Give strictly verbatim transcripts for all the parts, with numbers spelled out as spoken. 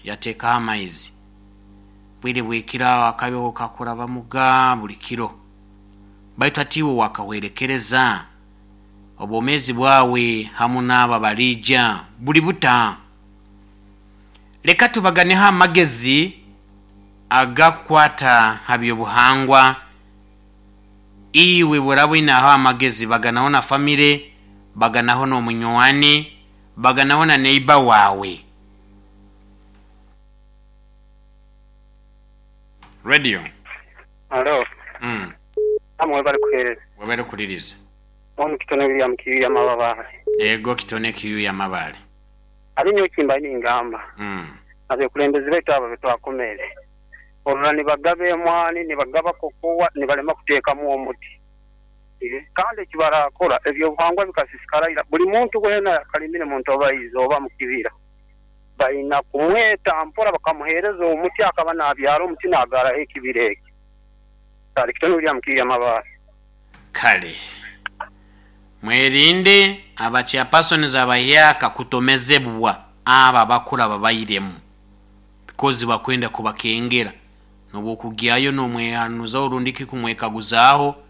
Yateekaho amaizi. Bwire bwekiro aho akabeho kakurabamuga buli kiro. Baitu hati iwe wakahwerekereza obwomeezi bwawe hamu n'abo abaliija buli buta. Leka tubaganeho amagezi agakukwata ha by'obuhangwa. Iwe bw'oraaba oineho amagezi, baganaho na famire, baganaho n'omunywani, baganaho na neighbor waawe. Radio. Halo. Mm. Amwe bali kuhereza. Wabali kuliriza. Ono kitone William Kiyu ya Mabale. Ego kitone Kiyu ya Mabale. Abinyo kimba ni ngamba. Mm. Abekulembeze betu abo betwakomere. Olwa nibagabe emwani, nibagaba kokowa, nibalema kuteekamu omuti. Kandi ekibarakora ebyobuhangwa bikasisikara ira. Buli muntu wena kalimire muntu oba izooba mu kibira. Balina kumweta mpora bakamuheereza omuti akaba nabyara omuti nagaraho ekibira eki. Kale kitone William Kiyu ya Mabale. Kale. Mwerinde abachairpersons abahyaka kutomezebwa aba bakura babairemu. Because bakwenda kubakengera. Nobwokugyayo nomwehanuza orundiki kumwekaguzaaho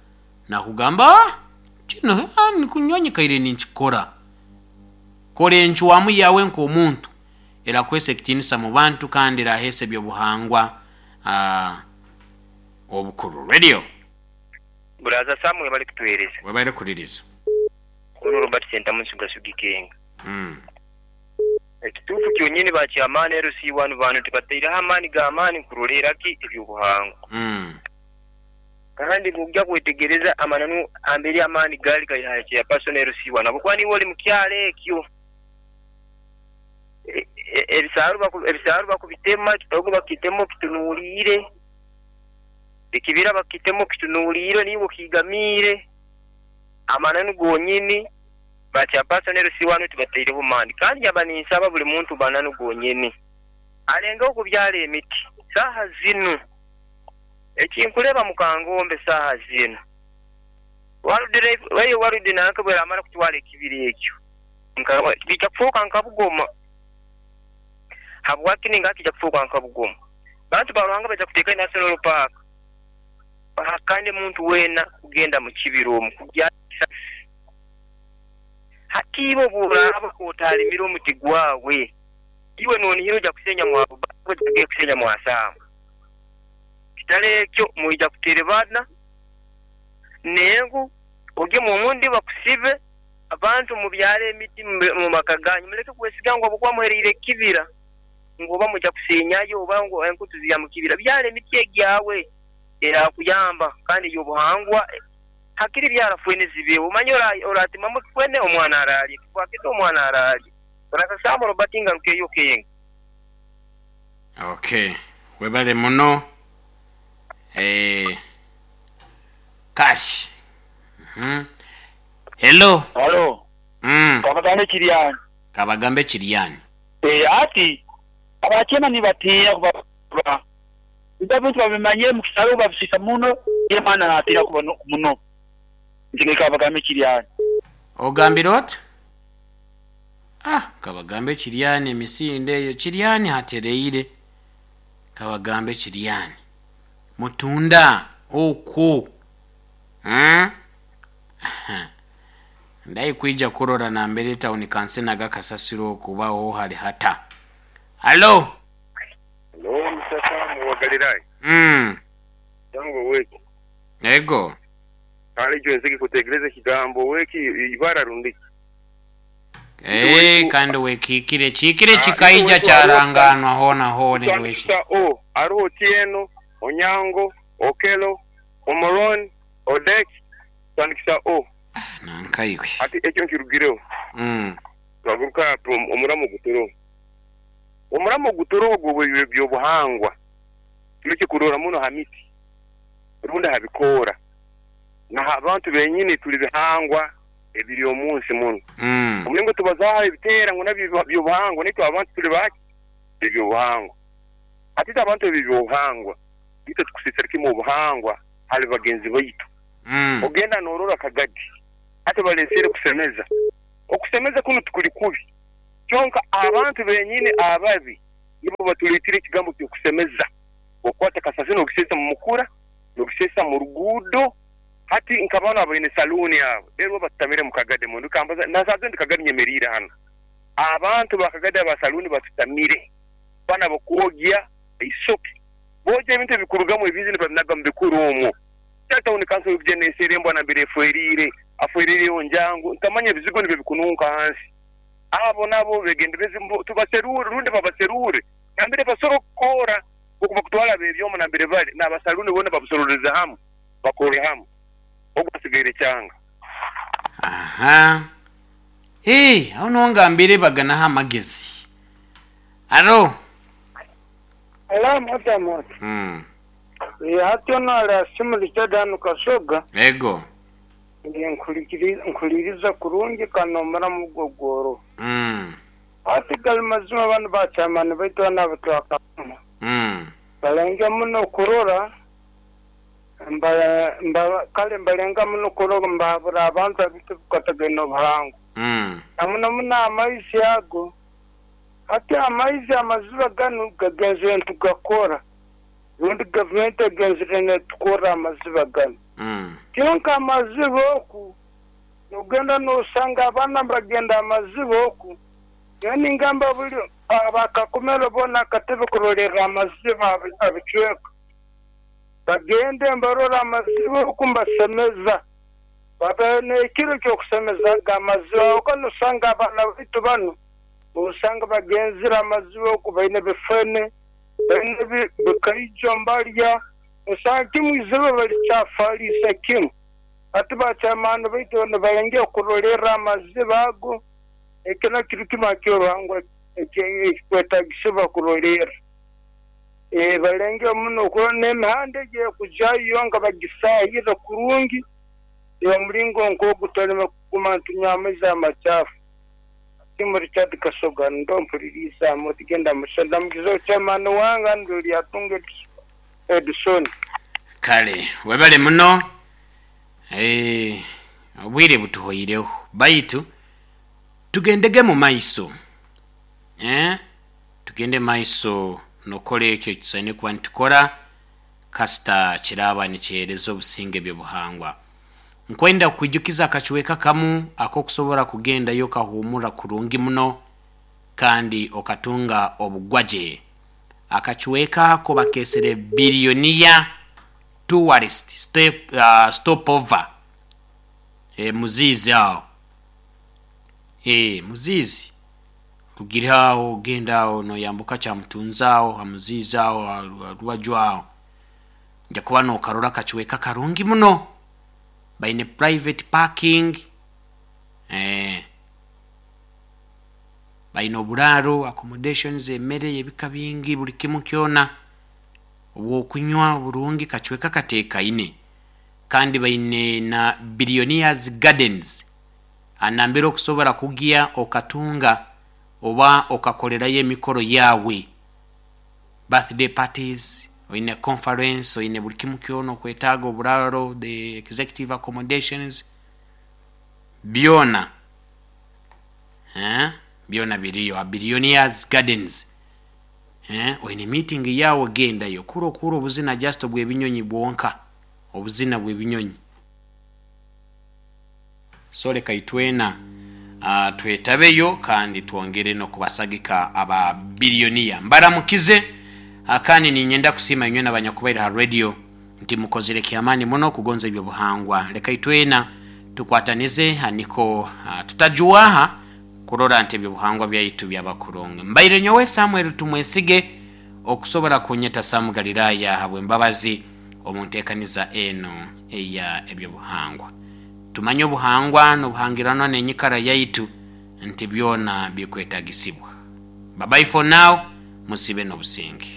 nakugamba kino nikunyonyekaire ninkikora. Kora enchwamu yawe nk'omuntu erakwesa ekitiinisa mu bantu kandi eraheesa ebyobuhangwa obukuru. Radio. Buraza Samuel bali kutuhereza. Wabali kuliriza. Ono Robert Sentamu Nsuga Kenga. Mm. Ekituufu kyonyini bakyamaani L C one bano tibateireho amaani g'amaani kurolera ki ebyobuhangwa. Mm. Kandi ng'ojja kwetegereza amananu amberi amaani gaali gali ha chairperson L C one ahabwokuba niiwe oli mu kyalo ekyo. Ebisaaru ebisaaru bakubitema, ekitogo bakitema okitunuuliire, ekibira bakitema okitunuuliire niiwe okigamiire. Amananu gonyini ba chairperson L C one tibateireho maani. Kandi yaba ninsaba buli muntu bananu gonyini alengeho okubyara emiti saaha zinu. Ekinkuleba mukangombe saaha zinu eyo warudi nanka bweramara kutwara ekibira ekyo kijja kufuuka nka Bugoma. Habwaki ninga kijja kufuuka nka Bugoma? Bantu ba Ruhanga baija kuteeka National Park bahakane muntu weena kugenda mu kibira omu kugya. Hati iwe bw'oraaba otalimire omuti gwawe, iwe noonihira ojja kusenya mwabuba, ojja kusenya mwasaamu. Kitale ekyo mwija kuterebana nengu ogye omundi bakusibe abantu mubyare emiti mu maka ganyu muleke kwesiga ngu ahabwokuba muhereire ekibira ngu oba mujja kusenyayo oba ngu enkutu zija mu kibira. Byara emiti egyawe erakuyamba kandi ey'obuhangwa hakiri byara fwene zibeho. Omanye oratimamu fwene omwana ararya, kwakita omwana ararya. Orakasamba Robert ngarukeyo Kenga. Okay, webale muno. Eh, kale. Mhm. Hello. Hello. Mm. Kabagambe Kiryani. Kabagambe Kiryani. Eh, ati abachema nibatinya kuba ibintu babimanye mu kisaro babisisa muno yemana natira kuba muno. Ntige Kabagambe Kiryani. Ogambira ot? Ah, Kabagambe Kiryani emisinde eyo Kiryani hatereire. Kabagambe Kiryani. Mutunda okwo. Hmm? Ndai kuija kurora na mbere town council nagakasasiro okubaho hali hata. Hello. Hello, Mr. Samu wa Galilaya. Mm. Tango weki. Ego. Kale jo nziki kutegereza kigambo weki ibara rundiki. Eh, kandi wekikire chikire chikaija charanganwa hona hone weki. O, aruho Tieno, Onyango, Okelo, Omoron, Odek, tandikisa o. Nankaiwe. Ati ekyo nkirugireho. Mm. Twaguruka omuramo gutoro. Omuramo gutoro ogwo byobuhangwa. Tuleke kurora muno ha miti. Runda habikora. Na abantu benyini tuli bihangwa ebiri omunsi muno. Mm. Omulingo tubazaho ebitera ngo nabyo byobuhangwa nitwe abantu tuli baki ebyobuhangwa. Ati abantu ebyobuhangwa itwe tukusisira kimu obuhangwa hali bagenzi baitu. Mm. Ogenda norora kagadi. Ate balesere kusemeza. Okusemeza kuno tukuli kubi. Kyonka abantu benyini ababi Nibo batuleetire ekigambo ky'okusemeza. Okwata kasasiro n'ogiseesa mu mukura, n'ogiseesa mu ruguudo. Hati nk'abaana abaine saluuni abo, rero batutamire mu Kagadi mundu kambaza nasaze ndi Kagadi nyemeriire hano. Abantu ba Kagadi aba saluuni batutamire. Bana bakwogya isoke. Boogya ebintu ebikurugamu ebizi nibabinaga mu bikuru omwo. Tawuni kanso y'okujenesera embwa nambere efwerire, afwerire onjangu, ntamanya ebizigo nibyo bikununka hansi. Abo nabo begendereze tubaserure rundi babaserure. Nambere basoro kukora okuba kutwala bebyomo nambere bali n'abasaluni bona babusororeza hamu bakore hamu. Ogwo asigaire kyanga. Aha. Hey, aho nongambire baganaho amagezi. Alo. Hello, moto moto. Mm. Hati ono ali Richard hano Kasoga. Ego. Nkuliriza kurungi kanomara mugogoro. Mm. Hati gali mazima banu bachamani baitu anabatwakama. Mm. Balenga muno kurora mba, mba, kale mbalenga muno kurora mbabura abantu abitu bukatagenda obuhango. Mm. Namuno muno amaizi ago. Hati amaizi amaziba ganu gagenzire ntugakora. Rundi gavumenti egenzire netukora amaziba ganu. Mm. Kyonka amaziba oku nogenda nosanga abaana bagenda amaziba oku. Yani ngamba buli abakakumero bona akatebe kurolera amaziba abicweka. Bagende mbarora amaziba oku mbasemeza. Baba n'ekiro ky'okusemeza amaziba oku nosanga abaana baitu banu osanga bagenzire amaziba oku baine bifene baine bikaijo mbalya osanga kimu iziba balikyafalisa kimu. Ati bachamani baitu nibalenge okurolera amaziba ago ekyo kiri kimu akyoruhangwa ekikwetagisibwa kurolera. E, balenge muno kurora n'emihanda egyo nga bagisahire kurungi omulingo nk'ogutalema kuguma ntunywa amaizi amachafu. Timu Richard Kasoga ndo mpuliriza mutigenda mushanda mugizo chairman wanga ndo lyatunga Edison. Kale webale muno. Eh, obwire butuhoireho baitu tugendege mu maiso. Eh, tugende maiso nokole ekyo kisaine kuba nitukora kasita kiraba nikyereza obusinge byobuhangwa. Nkwenda kwijukiza akacuweka kamu akokusobora kugendayo kahumura kurungi muno kandi okatunga obugwaje. Akacuweka ako bakesere bilionia tourist step, uh, stopover. E, muzizi aho. E, muzizi rugira aho genda aho noyambuka cha mutunza aho amuzizi aho ruwaju aho. Nja kuba nokarora akacuweka karungi muno. Baine private parking, eh, baine oburaro, accommodations, emmere ebika bingi buli kimu kyona, obwokunywa burungi kacweka kateekaine. Kandi baine na Billionaires Gardens anambere okusobola kugia okatunga oba okakolerayo emikoro yawe, birthday parties, oine conference, oine buli kimu kyona okwetaaga oburaro, the executive accommodations byona. Eh, byona biriyo Billionaires Gardens. Eh, oine meeting yawe gendayo kuro kuro obuzina just obw'ebinyonyi bwonka, obuzina bw'ebinyonyi. Sole kaitwena uh, twetabeyo kandi twongere n'okubasagika aba billionaire. Mbaramukize akani ninyenda kusima inywe n'abanyakubaire ha radio nti mukozere kyamani muno kugonza ebyo buhangwa. Leka itwena tukwatanize haniko uh, tutajuwaha kurora nti ebyo buhangwa byaitu byabakurungi. Mbaire nyowe Samuel Tumwesige okusobola kunyeta Samu Galilaya habwe mbabazi omuntekaniza eno eya ebyo buhangwa. Tumanye obuhangwa n'obuhangirano n'enyikara yaitu nti byona bikwetagisibwa. Bye bye for now, musibe n'obusinge.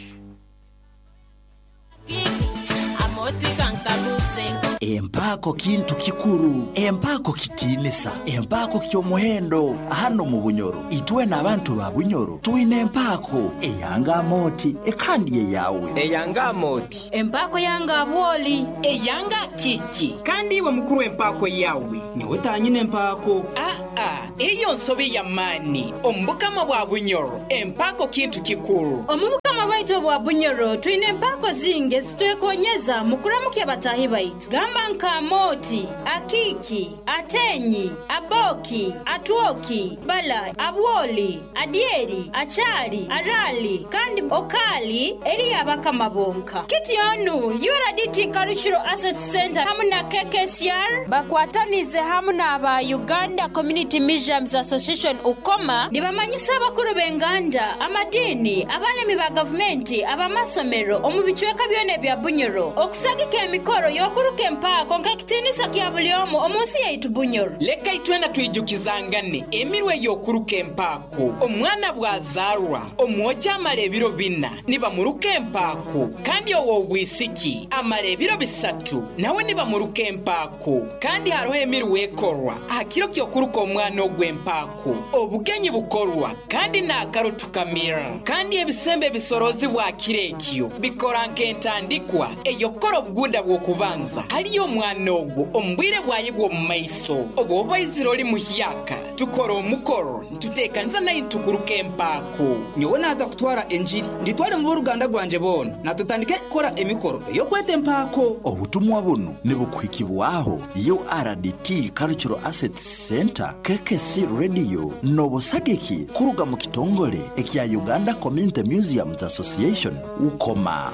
Empako kintu kikuru, empako kitinisa, empako ky'omuhendo hano mu Bunyoro. Itwe n'abantu ba Bunyoro twine empako eyanga moti ekandi eyawe eyanga moti empako yanga abwoli eyanga kiki kandi iwe mukuru empako yawe nyowe tanyine empako a Aa, eyo nsobi ya maani omubukama bwa Bunyoro empako kintu kikuru. Omubukama bwaitu obwa Bunyoro twine empako zingi ezitwekonyeza mu kuramukya batahi baitu, gamba nka Amoti, Akiki, Atenyi, Aboki, Atwoki, Bala, Abwoli, Adieri, Achari, Arali kandi Okali eri abakama bonka. Kityonu U R D T Cultural Assets Center hamu na K K C R bakwatanize hamu n'aba Uganda Community Museums Association Ukoma nibamanyisa abakuru b'enganda, amadini, abalemi ba gavumenti, abamasomero omu bicweka byona ebya Bunyoro okusagika emikoro y'okuruka empako nk'ekitiinisa kya buli omu omu nsi yaitu Bunyoro. Leka itwena twijukizangane emirwe y'okuruka empako. Omwana bw'azaarwa omwojo amara ebiro bina nibamuruka empako, kandi ow'obwisiki amara ebiro bisatu nawe nibamuruka empako. Kandi hariho emirwe ekorwa aha kiro ky'okuruka omwana ogw'empako. Obugenyi bukorwa kandi n'akaro tukamira, kandi ebisembe ebisorozi bwa kiro ekyo bikora nk'entandikwa ey'okukora obuguuda bw'okubanza hariyo omwana ogwo omu bwire bwaye bw'omu maiso. Obwo obaizire ori muhyaka tukora omukoro nituteekaniza naye nitukuruka empako. Nyowe naaza kutwara enjiri nditware mu b'oruganda rwanje boona natutandike kukora emikoro ey'okweta empako. Obutumwa buno nibukuhikibwaho U R D T Cultural Assets Center, K K C Radio n'obusagiki kuruga mu kitongole ekya Uganda Community Museums Association Ukoma.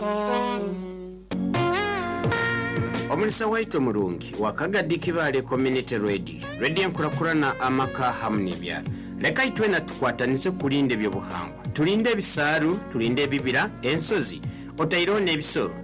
Omulisa waitu omurungi wakagadi Kibale Community Radio, radio enkurakurana amaka hamu n'ebyaro. Leka itwena tukwatanize kulinda ebyobuhangwa, tulinde ebisaaru, tulinde ebibira, ensozi, otaireho n'ebisoro.